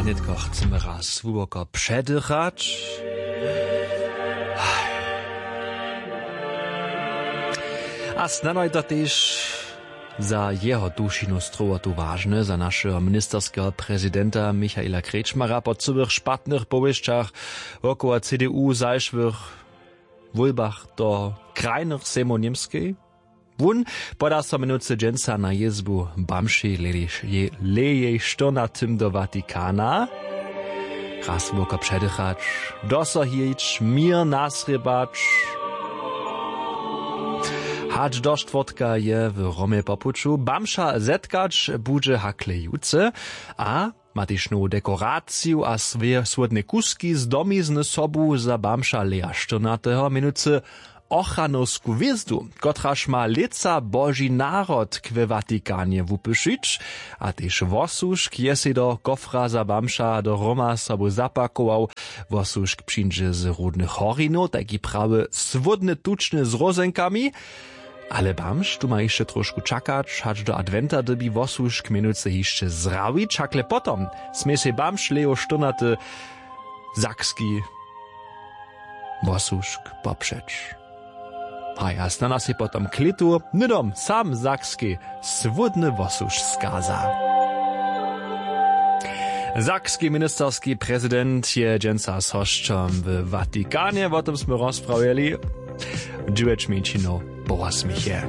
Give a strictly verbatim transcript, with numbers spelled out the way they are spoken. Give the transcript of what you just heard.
Nětko chcemy raz hłuboko předychać. A snano je to tež za jeho dušinu strowotu wažne, za našeho ministerskeho prezidenta Michaela Kretschmara. Po cyłych špatnych powěsćach wokoło C D U w zašłych wólbach do krajnych sejmow Němskej, wón poda so mjenujcy dźensa na jězbu bamšej lejej štyrnatym do Vatikana. Raz hłuboko předychać, dosohić, měr nasrěbać. Hač do štwórtka je w Romje po puću. Bamša zetkać budźe hakle jutře a ma tež nowu dekoraciju a swě-, słódne kuski z domizny sobu za bamša Leja štyrnateho, mjenujcy ochranowsku hwězdu, kotraž ma lětsa Boži narodk we Vatikanje wupyšić. A tež wosłužk je sej do kofra za bamša do Roma sobu zapakował. Wosłužk přińdźe z Rudnych Horinow, tajki prawy słódny tučny z rózenkami. Ale bamž tu ma hišće trošku čakać, hač do adwenta dyrbi wosłužk mjenujcy hišće zrawić, hakle potom smě sej bamž Lejo štyrnaty sakski wosłužk popřeć. Haj, a snano sej potom k lětu hnydom sam sakski słódny wosłužk skaza. Sakski ministerski prezident je dźensa z hosćom w Vatikanje, wo tym smy rozprawjeli dźewjeć mjeńšinow po wosmich je.